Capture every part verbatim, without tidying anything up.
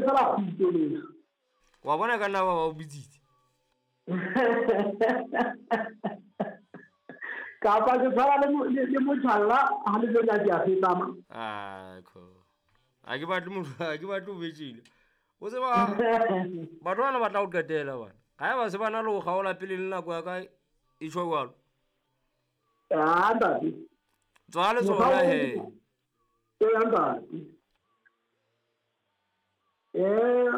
fela kgutso leso. Wa bona ka nna ba ba o bitsitse. Kapa ke tshwana le mo- le le motjhalla ha le jena ke a feta ma. Ah, ko. Ha ke batle motho, ha ke batle o betjile. O tseba batho bana ba tla o qetela bana. Ha eba se ba na le ho kgaola pele le nako ya ka e tjho jwalo. Ah, ntate. Tswa le Mokgwa tsona o- he. Ee, ntate. Eh,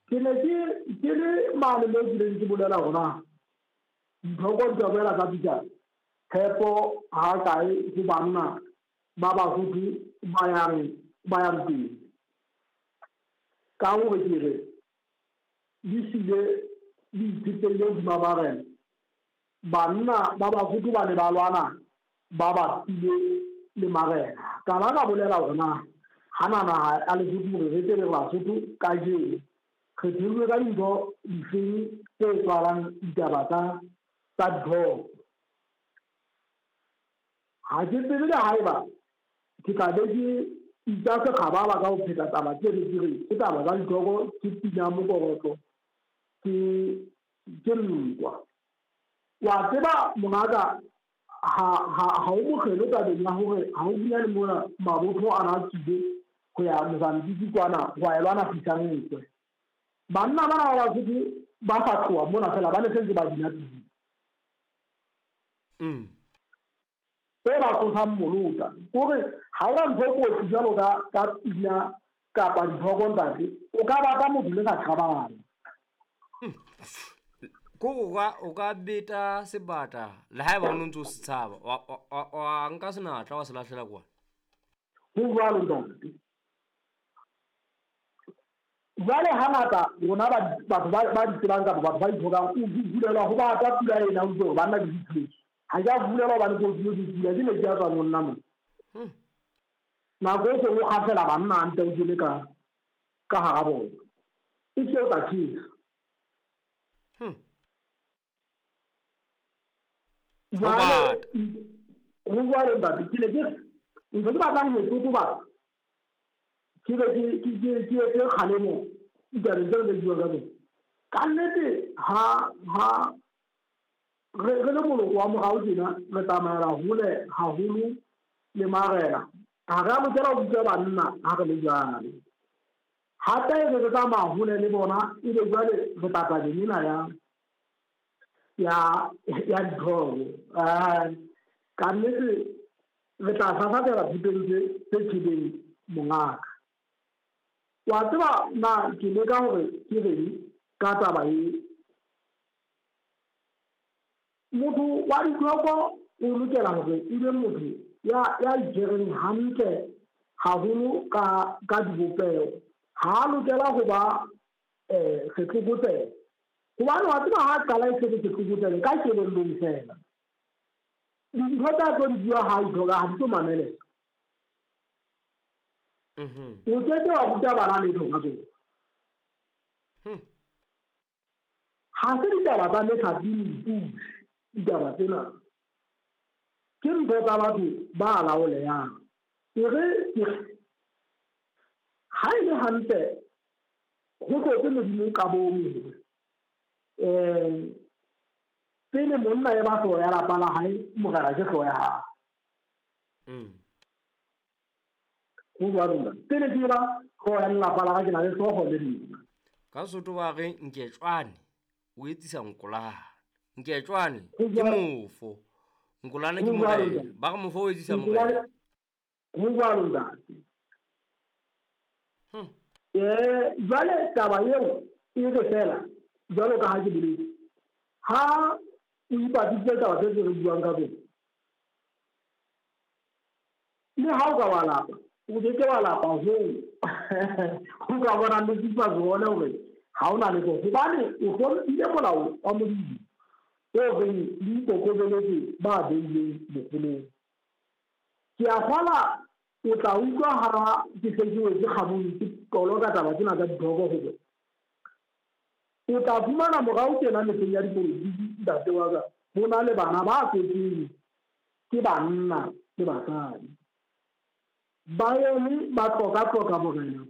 ke ne ke ke le mane mo ke neng ke bolela hore na dithoko di ka boela tsa bitsa tshepo ha kae ho banna ba Basotho ba yang ba yang pele. Ka hore ke re di hlile di itshetlehile hodima marena. Banna ba Basotho ba ne ba lwana ba bapile le marena. Ka ba ka bolela hore na hana naha ya Lesotho hore re tsebe Basotho kajeno re theilwe ka dintho difeng tse tswalang ditaba tsa tsa dithoko. Ha ke tsebe le haeba ke tla be ke itsa sekgababa ka ho pheta taba tse re ke re ke taba tsa dithoko, ke pina mokorotlo, ke ke nkwa. Wa tseba mongaka ha ha ha o mokgelo tabeng ya hore ha o bina le mona mabotho a na tswile ho ya Mozambique kwana ho ya lwana fihlang nkwe. Banna bana ba Basotho ba sa tloha mona fela ba ne sentse ba bina pina. Mm. E ba tsosang molota. Kore ha ona ntho e kotsi jwalo ka ka pina kapa dithoko ntate, o ka bata motho le sa qabane. Ko o ka o ka beta sebata le haeba o no ntso se tshaba wa wa- wa wa nka senatla wa se lahlela kwana. Ho jwalo ntate. Jwale hangata rona ba batho ba ba di tsebang kapa batho ba ithokang o bulelwa ho bata pula ena o utlwe hore banna ke diphedi. Ha ke a bulelwa hobane ke utlwile ke pula, ke metsi a tswang ho nna mona. Hmm. Nako e seng o kgafela banna a nte o kene ka ka hara bona. E se o tla tjhesa. Hmm. Ho Jwale bata. ho jwalo ntate, ke ne ke ntho ke batlang ho e totobatsa ke be ke ke ke ke etse kgalemo ditabeng tseo re buang ka tsona. Ka nnete ha ha re re le moloko wa morao tjena re tsamaela hole haholo le marena. Ha re a lokela ho bitsa banna ha re le jwalo. Hape re re tsamaya hole le bona ebe jwale re tla tabeng ena ya ya ya dithoko. Ah, ka nnete re tla fafatela thupeng tse tse thibeng mongaka. Wa tseba na ke leka hore ke reng ka taba e. Motho wa dithoko o lokela hore e be motho ya ya itshwereng hantle haholo ka ka dibopeho. Ha a lokela ho ba eh setlokotsebe. Hobane wa tseba ha qala e se le setlokotsebe ka kelellong fela. Dintho tsa tlo di bua ha ithoka ha di tlo mameleha. Mhm. O keke wa ruta bana letho ka tsona. Hmm. Ha se ditaba tsa methapi le dipudi ditaba tsena. Ke ntho tsa batho ba laolehang. E re ke ha e le hantle ho tlotse Modimo ka bong hore eh pele monna e ba hlooho ya lapa la hae, morena ke hlooho ya hae. Mm. Ho jwalo ntate. Pele ke ba hlooho ya lelapa la ka, ke na le hlooho le nna. Ka Sotho ba re nketjwane o etsisa nkolane. Nketjwane Ho ke jwalo. mofo. Nkolane ke Ho jwalo morena. ntate. Ba re mofo o etsisa Nkolane morena. ho jwalo ntate. Hmm. Eh, jwale taba eo e re fela jwalo ka ha ke boletse. Ha o ipatlisitse taba tse re buang ka tsona, le ha o ka wa lapa, o ke ke wa lapa hoo o ka bonang le supa tsone hore ha o na letho. Hobane o hlomphile molao wa Modimo o reng le ikokobeletse ba beilweng boholong. Ke a kgolwa o tla utlwa ha ke se ke wetse kgabong ke toloka taba tsena tsa dithoko hore o tla fumana morao tjena mehleng ya dipolotiki ntate wa ka, ho na le bana ba tswetsweng ke banna le basadi. Ba eme ba tloka-tloka morena